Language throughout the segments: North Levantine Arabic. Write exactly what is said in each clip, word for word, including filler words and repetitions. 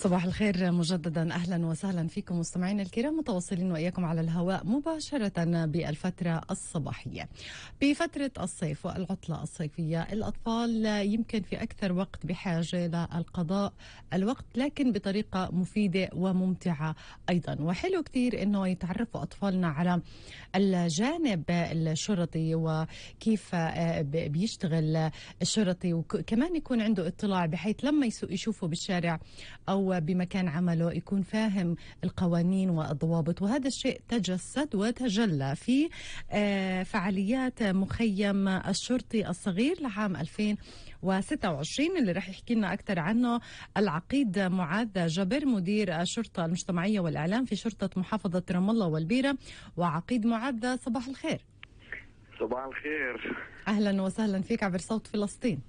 صباح الخير مجددا، أهلا وسهلا فيكم مستمعينا الكرام، متواصلين وإياكم على الهواء مباشرة بالفترة الصباحية. بفترة الصيف والعطلة الصيفية الأطفال يمكن في أكثر وقت بحاجة للقضاء الوقت، لكن بطريقة مفيدة وممتعة أيضا. وحلو كتير أنه يتعرفوا أطفالنا على الجانب الشرطي وكيف بيشتغل الشرطي، وكمان يكون عنده اطلاع بحيث لما يشوفوا بالشارع أو بمكان عمله يكون فاهم القوانين والضوابط. وهذا الشيء تجسد وتجلى في فعاليات مخيم الشرطي الصغير لعام ألفين وستة وعشرين اللي رح يحكي لنا أكثر عنه العقيد معاذ جبر، مدير الشرطة المجتمعية والإعلام في شرطة محافظة رام الله والبيرة. وعقيد معاذ صباح الخير. صباح الخير، أهلا وسهلا فيك عبر صوت فلسطين.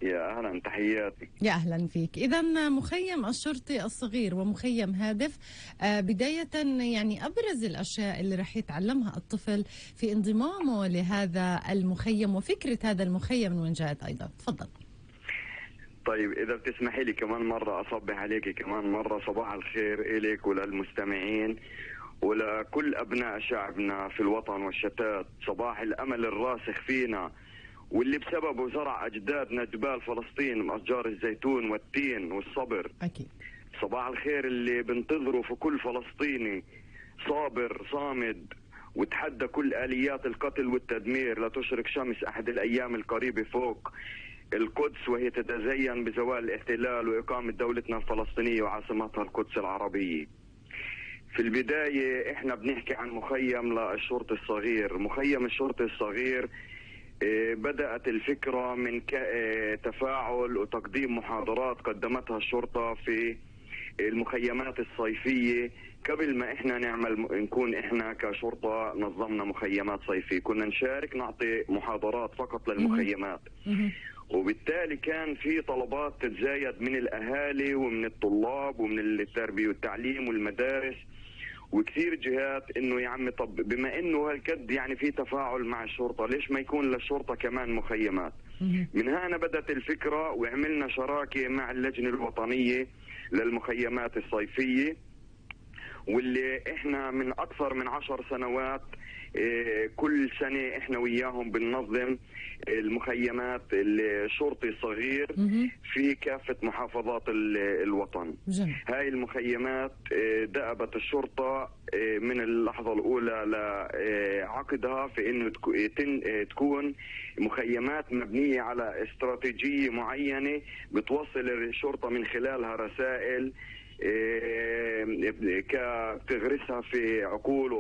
يا أهلا، تحياتي. يا أهلا فيك. إذا مخيم الشرطي الصغير ومخيم هادف، آه بداية يعني أبرز الأشياء اللي رح يتعلمها الطفل في انضمامه لهذا المخيم وفكرة هذا المخيم من وين جاءت أيضا؟ تفضل. طيب إذا بتسمحي لي كمان مرة أصبح عليك كمان مرة صباح الخير إليك وللمستمعين ولكل أبناء شعبنا في الوطن والشتات. صباح الأمل الراسخ فينا واللي بسببه زرع أجدادنا جبال فلسطين من أشجار الزيتون والتين والصبر. أكيد. صباح الخير اللي بنتظره في كل فلسطيني صابر صامد وتحدى كل آليات القتل والتدمير. لا تشرق شمس أحد الأيام القريبة فوق القدس وهي تتزين بزوال الاحتلال وإقامة دولتنا الفلسطينية وعاصمتها القدس العربية. في البداية احنا بنحكي عن مخيم للشرطي الصغير. مخيم الشرطي الصغير بدأت الفكرة من تفاعل وتقديم محاضرات قدمتها الشرطة في المخيمات الصيفية. قبل ما احنا نعمل نكون احنا كشرطة نظمنا مخيمات صيفية، كنا نشارك نعطي محاضرات فقط للمخيمات. وبالتالي كان في طلبات تتزايد من الأهالي ومن الطلاب ومن التربية والتعليم والمدارس وكثير جهات انه يا عمي طب بما انه هالقد يعني في تفاعل مع الشرطة ليش ما يكون للشرطة كمان مخيمات؟ من هنا بدأت الفكرة وعملنا شراكة مع اللجنة الوطنية للمخيمات الصيفية، واللي احنا من اكثر من عشر سنوات اه كل سنة احنا وياهم بننظم المخيمات الشرطي الصغير في كافة محافظات الوطن. جميل. هاي المخيمات اه دأبت الشرطة اه من اللحظة الاولى لعقدها في انه تكون مخيمات مبنية على استراتيجية معينة بتوصل الشرطة من خلالها رسائل كتغرسها في عقول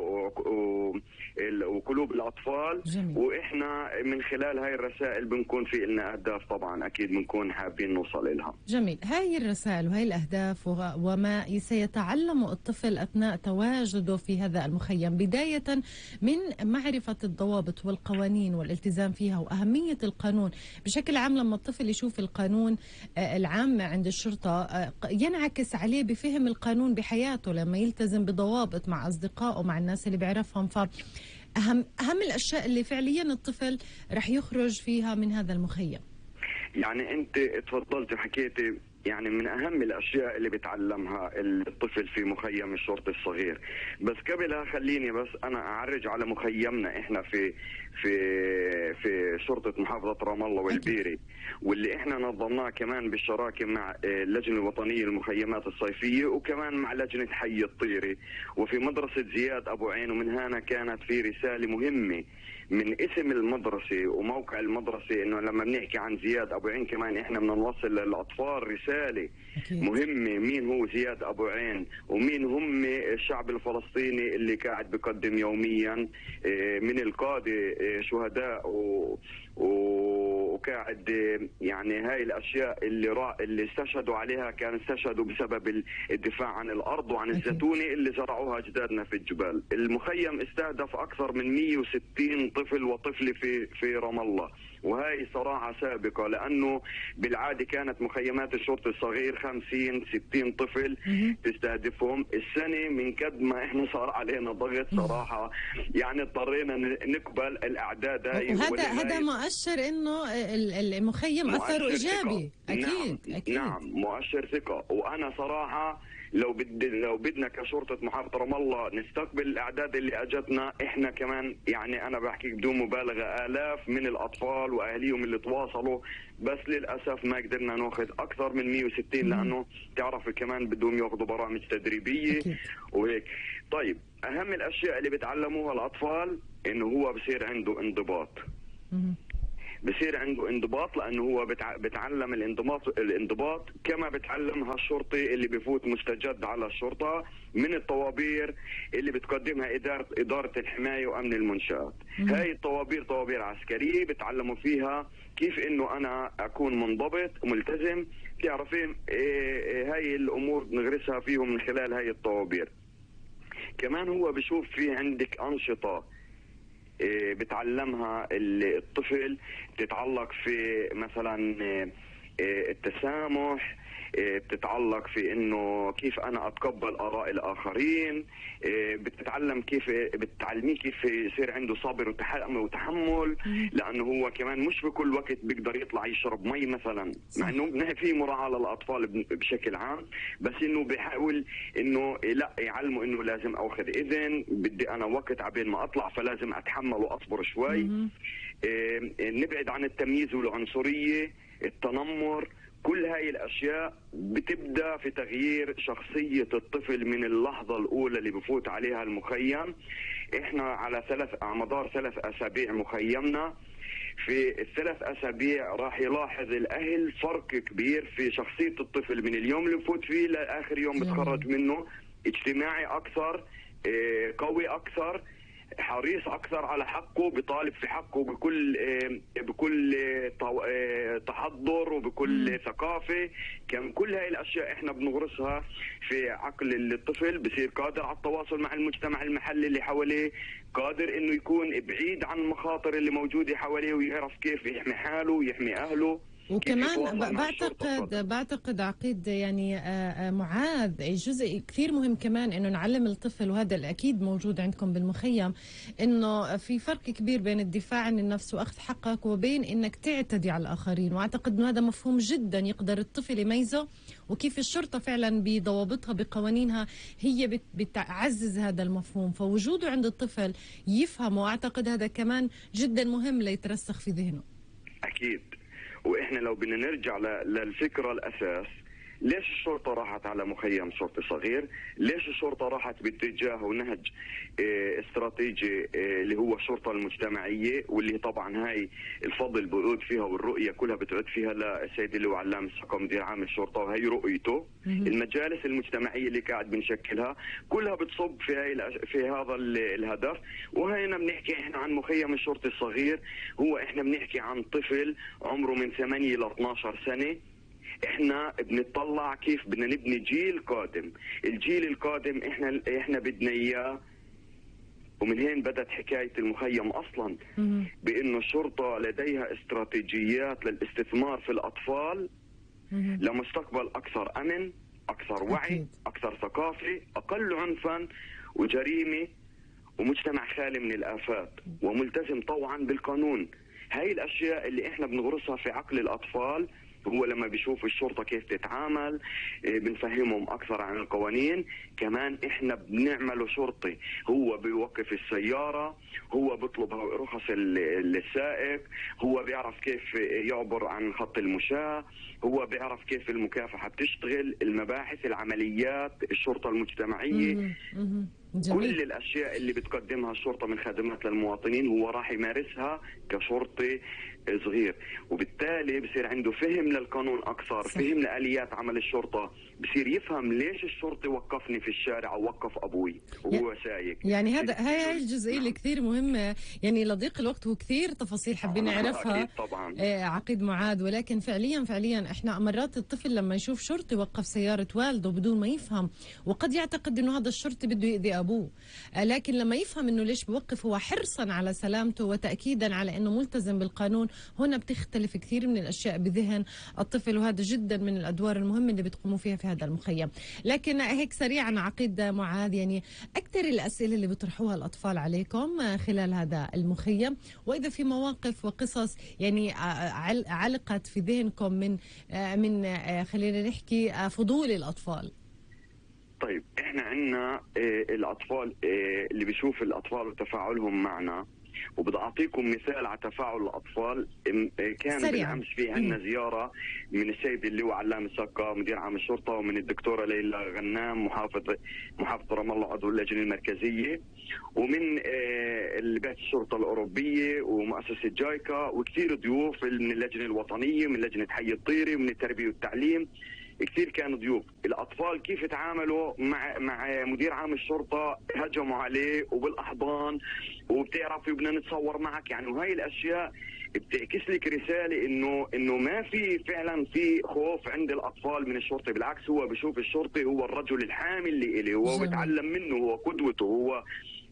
وقلوب الأطفال. جميل. وإحنا من خلال هاي الرسائل بنكون في لنا أهداف طبعا أكيد بنكون حابين نوصل لها. جميل. هاي الرسائل وهي الأهداف وما سيتعلم الطفل أثناء تواجده في هذا المخيم، بداية من معرفة الضوابط والقوانين والالتزام فيها وأهمية القانون بشكل عام. لما الطفل يشوف القانون العام عند الشرطة ينعكس عليه بفهم القانون بحياته لما يلتزم بضوابط مع أصدقائه مع الناس اللي بيعرفهم. فأهم أهم الأشياء اللي فعليا الطفل رح يخرج فيها من هذا المخيم. يعني أنت تفضلت وحكيتي يعني من أهم الأشياء اللي بتعلمها الطفل في مخيم الشرطي الصغير. بس قبلها خليني بس أنا أعرج على مخيمنا إحنا في في في شرطة محافظة رام الله والبيري، واللي إحنا نظمناه كمان بالشراكة مع اللجنة الوطنية للمخيمات الصيفية وكمان مع لجنة حي الطيري وفي مدرسة زياد أبو عين. ومن هنا كانت في رسالة مهمة من اسم المدرسة وموقع المدرسة، إنه لما بنحكي عن زياد أبو عين كمان إحنا بدنا نوصل للأطفال رسالة أكيد مهمة. مين هو زياد أبو عين ومين هم الشعب الفلسطيني اللي قاعد بقدم يوميا من القادة شهداء و... وقاعد يعني هاي الأشياء اللي را... اللي استشهدوا عليها كان استشهدوا بسبب الدفاع عن الأرض وعن الزيتونة اللي زرعوها أجدادنا في الجبال. المخيم استهدف أكثر من مئة وستين طفل وطفلة في في رام الله وهي صراحة سابقة، لأنه بالعادة كانت مخيمات الشرطة الصغير خمسين ستين طفل تستهدفهم. السنة من قد ما إحنا صار علينا ضغط صراحة يعني اضطرينا نقبل الأعداد هاي. وهذا هذا مؤشر إنه المخيم أثره إيجابي. أكيد. نعم. أكيد نعم مؤشر ثقة. وأنا صراحة لو بد لو بدنا كشرطة محافظة رام الله نستقبل الأعداد اللي أجتنا، إحنا كمان يعني أنا بحكي بدون مبالغة آلاف من الأطفال وأهليهم اللي تواصلوا، بس للأسف ما قدرنا ناخذ أكثر من مئة وستين لأنه تعرف كمان بدهم ياخذوا برامج تدريبية وهيك. طيب أهم الأشياء اللي بتعلموها الأطفال إنه هو بصير عنده انضباط. بصير عنده انضباط لانه هو بتعلم الانضباط الانضباط كما بتعلمها الشرطي اللي بفوت مستجد على الشرطه من الطوابير اللي بتقدمها اداره اداره الحمايه وامن المنشات. هاي الطوابير طوابير عسكريه بتعلموا فيها كيف انه انا اكون منضبط وملتزم. تعرفين إيه هاي الامور نغرسها فيهم من خلال هاي الطوابير. كمان هو بشوف في عندك انشطه بتعلمها الطفل بتتعلق في مثلا التسامح، بتتعلق في انه كيف انا اتقبل اراء الاخرين، بتتعلم كيف بتعلميه كيف يصير عنده صبر وتحمل، لانه هو كمان مش بكل وقت بيقدر يطلع يشرب مي مثلا، مع انه في مراعاه للاطفال بشكل عام، بس انه بيحاول انه لا يعلمه انه لازم اخذ اذن، بدي انا وقت عبين ما اطلع فلازم اتحمل واصبر شوي. نبعد عن التمييز والعنصريه، التنمر، كل هاي الأشياء بتبدأ في تغيير شخصية الطفل من اللحظة الأولى اللي بفوت عليها المخيم. إحنا على ثلاث على مدار ثلاث أسابيع مخيمنا، في الثلاث أسابيع راح يلاحظ الأهل فرق كبير في شخصية الطفل من اليوم اللي بفوت فيه لآخر يوم بتخرج منه. اجتماعي أكثر، قوي أكثر، حريص اكثر على حقه، بيطالب في حقه بكل بكل تحضر وبكل ثقافه. كم كل هاي الاشياء احنا بنغرسها في عقل الطفل، بصير قادر على التواصل مع المجتمع المحلي اللي حواليه، قادر انه يكون بعيد عن المخاطر اللي موجوده حواليه ويعرف كيف يحمي حاله ويحمي اهله. وكمان بعتقد بعتقد عقيد يعني معاذ جزء كثير مهم كمان انه نعلم الطفل، وهذا الاكيد موجود عندكم بالمخيم، انه في فرق كبير بين الدفاع عن النفس واخذ حقك وبين انك تعتدي على الاخرين، واعتقد انه هذا مفهوم جدا يقدر الطفل يميزه، وكيف الشرطه فعلا بضوابطها بقوانينها هي بتعزز هذا المفهوم، فوجوده عند الطفل يفهمه، واعتقد هذا كمان جدا مهم ليترسخ في ذهنه. اكيد. واحنا لو بدنا نرجع للفكره الاساس، ليش الشرطه راحت على مخيم شرطي صغير؟ ليش الشرطه راحت باتجاه ونهج اه استراتيجي اه اللي هو الشرطه المجتمعيه، واللي طبعا هاي الفضل بيعود فيها والرؤيه كلها بتعود فيها للسيد اللي هو علام الثقه مدير عام الشرطه، وهي رؤيته. المجالس المجتمعيه اللي قاعد بنشكلها كلها بتصب في هاي في هذا الهدف. وهنا بنحكي احنا عن مخيم الشرطي الصغير، هو احنا بنحكي عن طفل عمره من ثمانية ل اثنعش سنه. احنا بنطلع كيف بدنا نبني جيل قادم. الجيل القادم احنا احنا بدنا اياه، ومن هين بدت حكايه المخيم اصلا، بانه الشرطه لديها استراتيجيات للاستثمار في الاطفال لمستقبل اكثر امن، اكثر وعي، اكثر ثقافه، اقل عنفا وجريمه، ومجتمع خالي من الافات وملتزم طوعا بالقانون. هاي الاشياء اللي احنا بنغرسها في عقل الاطفال. هو لما بيشوف الشرطة كيف تتعامل بنفهمهم أكثر عن القوانين. كمان إحنا بنعمله شرطي، هو بيوقف السيارة، هو بيطلب رخص السائق، هو بيعرف كيف يعبر عن خط المشاة، هو بيعرف كيف المكافحة بتشتغل، المباحث، العمليات، الشرطة المجتمعية. جميل. كل الأشياء اللي بتقدمها الشرطة من خدمات للمواطنين هو راح يمارسها كشرطي صغير، وبالتالي بصير عنده فهم للقانون أكثر، صح. فهم لآليات عمل الشرطة، بصير يفهم ليش الشرطي وقفني في الشارع أو وقف أبوي وهو سايق. يعني هذا هاي الجزئية اللي كثير مهمة، يعني لضيق الوقت وكثير تفاصيل حابين نعرفها طبعا. آه عقيد معاذ، ولكن فعليا فعليا احنا مرات الطفل لما يشوف شرطي وقف سيارة والده بدون ما يفهم، وقد يعتقد انه هذا الشرطي بده يأذي لأبوه، لكن لما يفهم أنه ليش بوقف هو حرصا على سلامته وتأكيدا على أنه ملتزم بالقانون، هنا بتختلف كثير من الأشياء بذهن الطفل، وهذا جدا من الأدوار المهمة اللي بتقوموا فيها في هذا المخيم. لكن هيك سريعا عقيد معاذ، يعني أكثر الأسئلة اللي بيطرحوها الأطفال عليكم خلال هذا المخيم، وإذا في مواقف وقصص يعني علقت في ذهنكم من من خلينا نحكي فضول الأطفال. طيب احنا عندنا الأطفال اللي بيشوف الأطفال وتفاعلهم معنا، وبدي أعطيكم مثال على تفاعل الأطفال. كان سريعا. بالأمس في عندنا زيارة من السيد اللواء علام السقا مدير عام الشرطة، ومن الدكتورة ليلى غنام محافظ محافظة رام الله عضو اللجنة المركزية، ومن بيت الشرطة الأوروبية ومؤسسة جايكا، وكثير ضيوف من اللجنة الوطنية، من لجنة حي الطيري، ومن التربية والتعليم. كثير كانوا ضيوف. الأطفال كيف تعاملوا مع مع مدير عام الشرطة؟ هجموا عليه وبالأحضان وبتعرفي بدنا نتصور معك يعني، وهي الأشياء بتعكس لك رسالة إنه إنه ما في فعلا في خوف عند الأطفال من الشرطة، بالعكس هو بشوف الشرطي هو الرجل الحامي اللي إليه، هو بيتعلم منه، هو قدوته، هو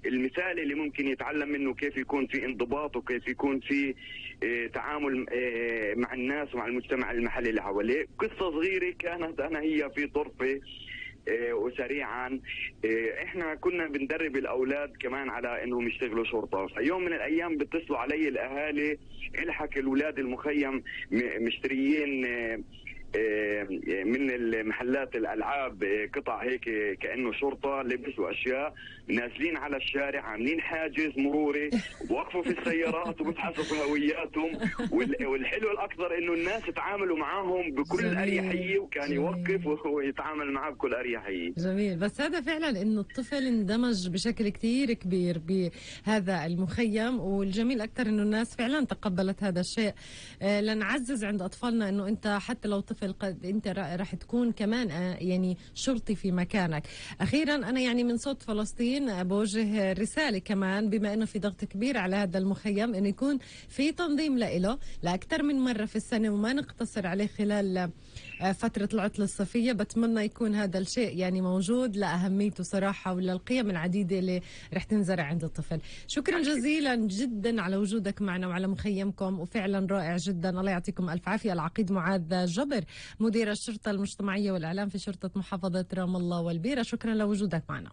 المثال اللي ممكن يتعلم منه كيف يكون في انضباط وكيف يكون في اه تعامل اه مع الناس ومع المجتمع المحلي اللي حواليه. قصة صغيرة كانت أنا هي في طرفة اه وسريعا اه احنا كنا بندرب الأولاد كمان على انهم يشتغلوا شرطة. فيوم من الأيام بيتصلوا علي الأهالي، الحق الأولاد المخيم مشتريين اه من المحلات الألعاب قطع هيك كأنه شرطة، لبس وأشياء، نازلين على الشارع عاملين حاجز مروري ووقفوا في السيارات وبتحسبوا هوياتهم. والحلو الأكثر إنه الناس تعاملوا معهم بكل أريحية، وكان يوقف ويتعامل معه بكل أريحية. جميل. بس هذا فعلا إنه الطفل اندمج بشكل كتير كبير بهذا المخيم، والجميل أكثر إنه الناس فعلا تقبلت هذا الشيء. لنعزز عند أطفالنا إنه أنت حتى لو طفل قد انت راح تكون كمان يعني شرطي في مكانك. اخيرا انا يعني من صوت فلسطين بوجه رساله كمان، بما انه في ضغط كبير على هذا المخيم انه يكون في تنظيم له لاكثر من مره في السنه وما نقتصر عليه خلال فتره العطله الصيفيه. بتمنى يكون هذا الشيء يعني موجود لاهميته صراحه وللقيم العديده اللي رح تنزرع عند الطفل. شكرا جزيلا جدا على وجودك معنا وعلى مخيمكم، وفعلا رائع جدا. الله يعطيكم الف عافيه. العقيد معاذ جبر مدير الشرطة المجتمعية والإعلام في شرطة محافظة رام الله والبيرة، شكرا لوجودك معنا.